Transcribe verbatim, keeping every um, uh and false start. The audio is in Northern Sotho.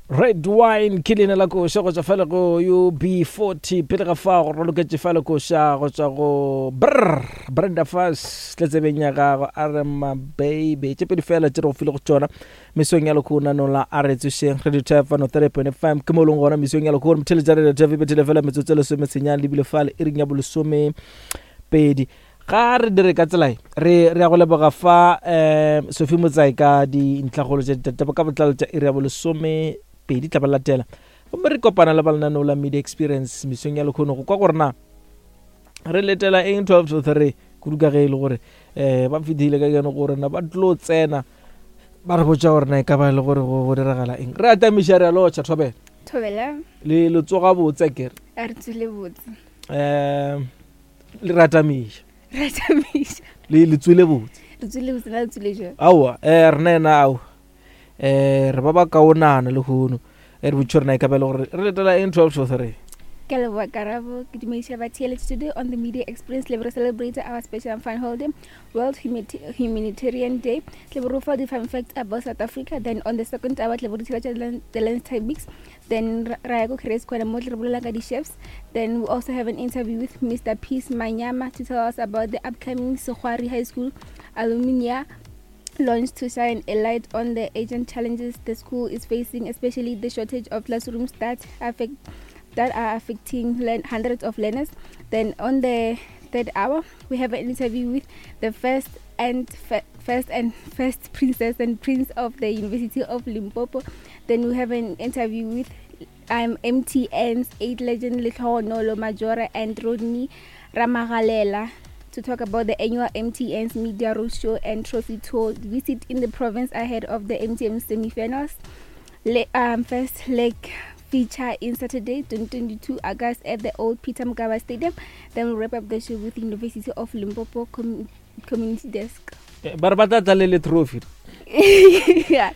Red Wine ke leina la koša go tšwa fale go U B forty. Pele ga fa go roloketše fale koša go tšwa go Brr Brenda Fassie, tletsebeng ya gago a re mababy. Tše pedi fela tše re go file go tšona mesong ya lekhono la a re tsošeng Radio Tefano three point five ke mo e leng gona mesong ya lekhono. Motheletša Radio Tef e bethile fela metsotso e lesomesenyane lebile fale iring ya bolesome pedi. Ga re dire ka tsela e re re ya go leboga fa um Sophie Motsai ka dintlhagolo tša ditaba ka botlalo tša iri ya bolesome pedi tla ba latela, gomme re kopana le balenaneo la Media Experience mesong ya lekhono go kwa gore na re letela eng twelve to three, kudu ka ge e le gore um ba fitlhile ka keno gore na ba tlo tsena ba re botša gore na e ka ba e le gore go go diragala eng. Re atamiša, re a lotšha, thobela. Thobela. Le le tsoga botse kere? A re tswile botse. um le re atamiša. Re atamiša. Le le tswile botse? Re tswile botse, na le tswile jang? Aowa, um rena ena ao um re ba ba kaonana le kgono e re botše gore na e ka ba e le gore re letela eng twelve to three. Ke a leboga, Karabo. Ke dumediša batheeletši. Today on the Media Experience le re celebrate our special and fun holiday, World Humani- humanitarian Day. Tle re fa di-fun facts about South Africa. Then on the second hour tle re theeletša the Lunchtime Mix, then ra ra ya ko Careers Corner mo tle re bolela ka di-chefs. Then we also have an interview with Mister Peace Manyama to tell us about the upcoming Sekgwari High School alumni launch to shine a light on the urgent challenges the school is facing, especially the shortage of classrooms that affect that are affecting learn- hundreds of learners. Then on the third hour, we have an interview with the first and fe- first and first princess and prince of the University of Limpopo. Then we have an interview with um, M T N's eight legend Lehlohonolo Majora and Rodney Ramagalela to talk about the annual M T N's Media Roadshow and Trophy Tour visit in the province ahead of the M T N semi-finals. Le- um, first leg feature in Saturday, twenty-two August at the Old Peter Mokaba Stadium. Then we'll wrap up the show with University of Limpopo Com- Community Desk. Eh, ba re ba tla tla le le trophy. Yeah.